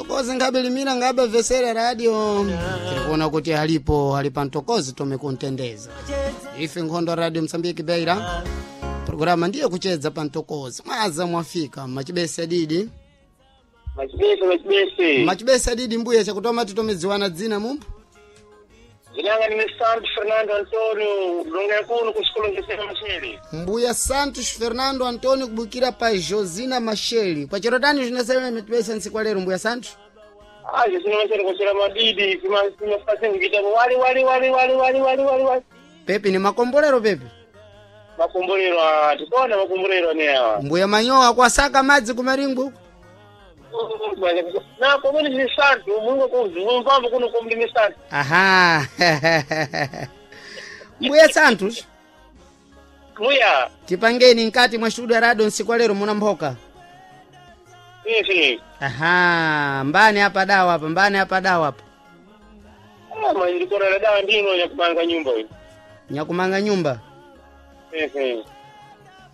Mtokozi ngabe limira ngabe vesera radio tirikuona kuti alipo ali pa mtokozi tomekuntendeza ife nkhondo radio Msambiki Beira programa ndiye kuchedza pa mtokozi mwaza mwafika machibese didi. Machibese, machibese. Machibese didi mbuya chakutoma titomedziwana dzina mumbu. Zinanga ni Santos Fernando Antonio, longa kuno kusikolo ngesema Macheli. Mbuya Santos Fernando Antonio kubukira pa Josina Macheli kwa tani zvinasema machibese ntsiku lero mbuya Santos. Ah, Josina Macheli kuchera madidi, sima sima fasi ngita wali wali wali wali wali wali wali wali. Pepi ni makombolero pepi. Makombolero tikona makombolero ne awa. Mbuya manyowa kwasaka madzi kumaringu. Na komoni ni Santos, Mungu kuzumba kuno komoni ni Santos. Aha. Mbuya Santos. Mbuya. Tipangeni nkati mwa studio ya radio nsiku lero muna mphoka. Isi. Aha, mbani hapa dawa hapa, mbani hapa dawa hapa. Ah, mandikona na dawa ndino ya kumanga nyumba hii. Nyakumanga nyumba. Isi.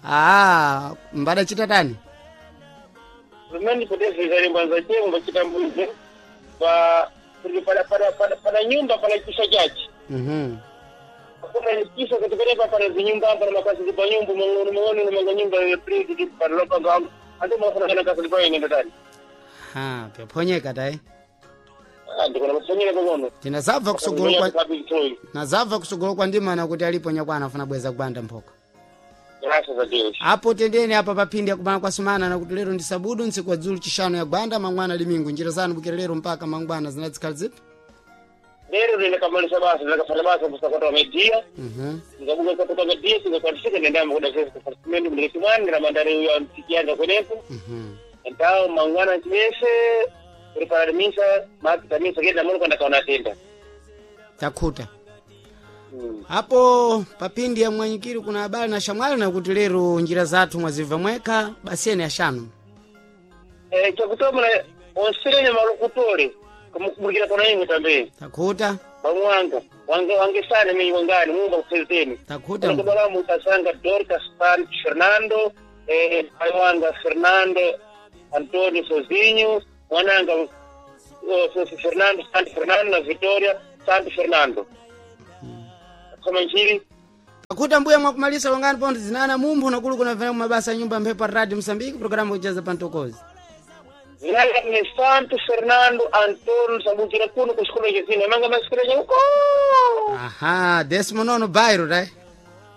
Ah, mbada chitatani. Rumeni potezi zale mbanza chengo bachitambuze. Pa para para para para nyumba para kisha chachi. Kuna kisa katika hapa para zinyumba hapa na makazi kwa nyumba mwangono mwangono na manga nyumba ya pridi para lopa ngambo. Ando mafuna kana kazi kwa ine ndani. Ha, pyaphonyeka tayi. Ah, ndikona mafanyira kokono. Tinazabva kusogolo kwa nazabva kusogolo kwa ndimana kuti alipo nyakwana afuna bweza kubanda mphoka. Graças a Deus. Apo tendeni apa paphindi yakubana kwa sumana nakuti lero ndi sabudu ntsiku wa dzulu chishanu ya gwanda mangwana limingu njira zanu bukira lero mpaka mangwana zinadzikhala zipi. Lero ndinakamalisa basa ndakafanya basa kusakota media. Ngabuka kutoka media singakwanisika ndendamba kuda sasa kufasimeni mlekimani na mandari ya mtikianza kwenepo. Então mangwana chimese preparar misa mapita misa kenda muno kwenda kaona tenda. Takhuta. Apo papindi ya mwanyikiri kuna habari na shamwali nakuti lero njira zathu mwazibva mwekha basiyeni ashanu. Eh, chakutoma na onsirenye malukutore kumukubukira kona imwe tambe. Takhuta. Bamwanga wange wange sana mimi wangani Mungu akusezeni. Takhuta. Kubala mutasanga Dorcas San Fernando eh wanga Fernando Antonio Sozinho mwananga Fernando San Fernando na Victoria San Fernando. Kama njiri Takhuta mbuya mwakumalisa longani pontho zinana mumphu nakulu kuna vena mabasa ya nyumba mphepo radio Msambiki programu kucheza pantokozi. Zinanga ni Santo Fernando Antonio sabukira kuno kusikolo chezina manga masikolo huko. Aha, desimo nono bairo tai.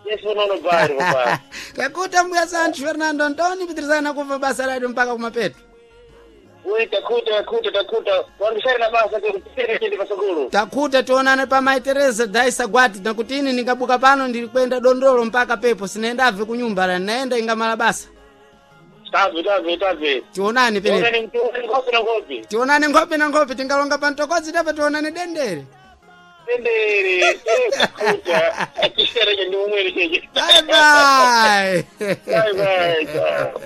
Yesu nono bari baba. Takuta mbuya Santos Fernando Antonio pitirizana kuva basa radio mpaka kumapeto. Ui takuta takuta takuta wangisari na basa kutere chindi pasukulu. Takuta tionane pa Mai Teresa daisa gwati nakutini nikabuka pano ndili kwenda dondolo mpaka pepo sinaendabve kunyumba la naenda ingamala basa. Tabe tabe tabe. Tionane penepo. Tionane mtuone ngopi na ngopi. Tionane nkhope na nkhope tingalonga pa mtokozi tepa tionane dendere. Tendere takuta akisera chindi umwere cheche. Bye bye. Bye bye. Ciao.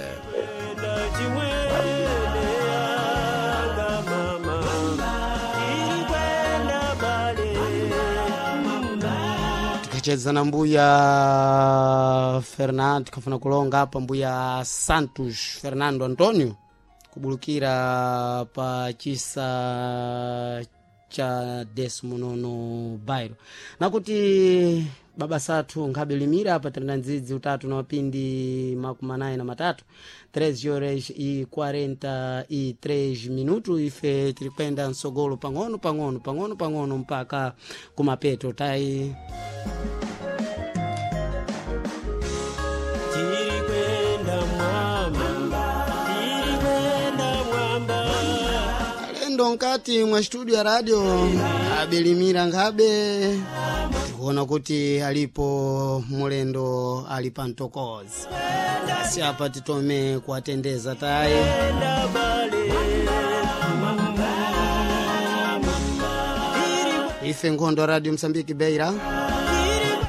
Tikacheza na mbuya Fernando tikafuna kulonga apa mbuya Santos Fernando Antonio kubulukira pa chisa cha desimo nono bairo nakuti baba sathu nkhabe limira apa tiri na ndzidzi utatu na mapindi makumi anayi na matatu 3 horas e 43 minuto ife tiri kwenda msogolo pang'ono pang'ono pang'ono pang'ono mpaka kumapeto tayi. Alendo nkati mwa studio ya radio abilimira nkhabe tikuona kuti alipo mulendo ali pa mtokozi si apa titome kuwatendeza tayi. Ife nkhondo radio Msambiki Beira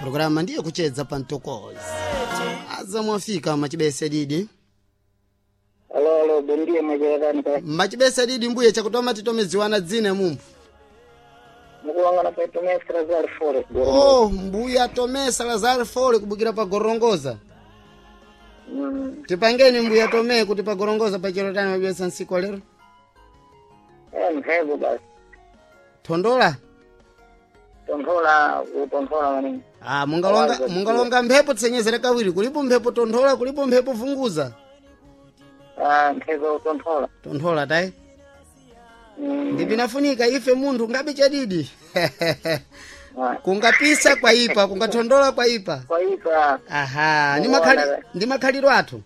programa ndiye kuchedza pa mtokozi aza mwafika machibese didi. Alo alo bom dia majerani ka. Machibese didi mbuye chakutoma titomedziwana dzina mumbu. Mukuwangana pa Tomé Salazar Forest. Oh, mbuya Tomé Salazar Fole kubukira pa Gorongoza. Tipangeni mbuya Tomé kuti pa Gorongoza pa chero tani mabesa nsiku lero. mphepo basi. Thondola. Tonthola utonthola maningi. Ah, mungalonga mphepo tsenyezera kawiri, kulipo mphepo tonthola, kulipo mphepo vunguza. Ah, mphepo utonthola. Tonthola tayi. Ndipinafunika ife munthu ngabe chadidi. Kungapisa kwaipa, kungathondola kwaipa. Kwaipa. Aha, ndi makhaliro athu.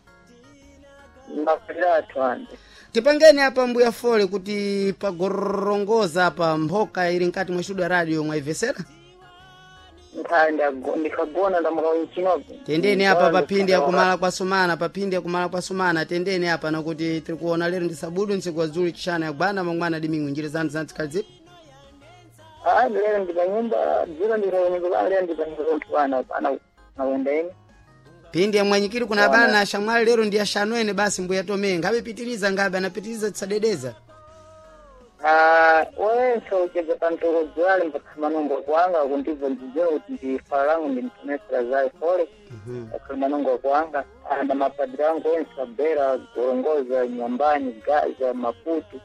Makhaliro athu ande. Tipangeni apa mbuya fole kuti pagorongoza apa mphoka ili nkati mwa studio radio mwaivesera. Ndikagona ndamuka winchinopo. Tendeni apa paphindi yakumala kwa sumana, paphindi yakumala kwa sumana, tendeni apa nakuti tiri kuona lero ndi sabudu ntsiku wazulu chishana yagwana mangwana dimingwi njira zanu zantsikhali zipi. Ah, lero ndi panyumba, dziro ndikanyumba, lero ndi panyumba kuti bana bana nakwenda ine. Phindi yamwanyikiri kuna bana ashamwali lero ndi ashanu ene basi mbuya Tome ngabe pitiriza ngabe anapitiriza tisadedeza. Ah, wense uchedza pantoko dzwali mpakhamanungo kwanga kundibva ndidziwa kuti ndifala langu ndimtomesera zayo fole. Pakhamanungo kwanga anda mapadiri angu wense abera gorongoza nyambani gaza maputu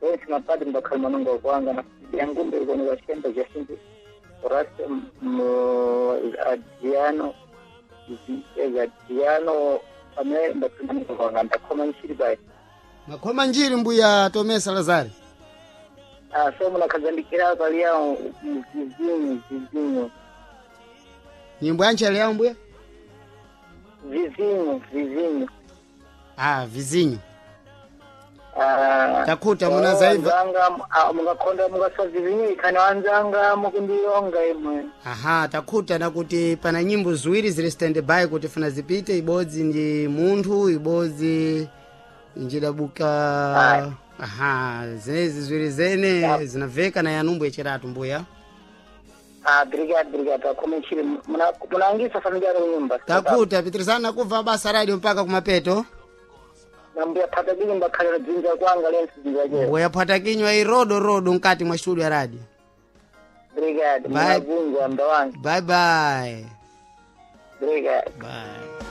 wense mapadiri mpakhamanungo kwanga na yangumbe ikuoneka chemba jasinti Horacio Adriano Adriano amene mbakhamanungo kwanga ndakhoma nchiri bayi. Makhoma njiri mbuya Tome Salazar. Ah, so munakadzandikira paliya mzizinyo zizinyo. Nyimbo yanchele yawo mbuya? Vizinho vizinho. Ah, vizinho. Ah, Takuta munazaiva. Wanzanga mungakhonda mungaswa vizinho ikhani wanzanga mukundiyonga imwe. Aha, takuta nakuti pana nyimbo ziwiri zili stand by kuti funa zipite, ibodzi ndi munthu, ibodzi njidabuka. Aha, zenezi ziwiri zene zinaveka na yanumbu yachiratu mbuya. Ah, brigade brigade akhome nchiri munangisa familia yaro nyumba. Takuta pitirizana kubva basa radio mpaka kumapeto. Nambuya phata bili mbakhalira dzinja kwanga lensi dzinja chero. Mbuya phata kinywa irodo rodo mkati mwa studio ya radio. Brigade Bye. munabvunza mda wangu. Bye bye. Brigade. Bye.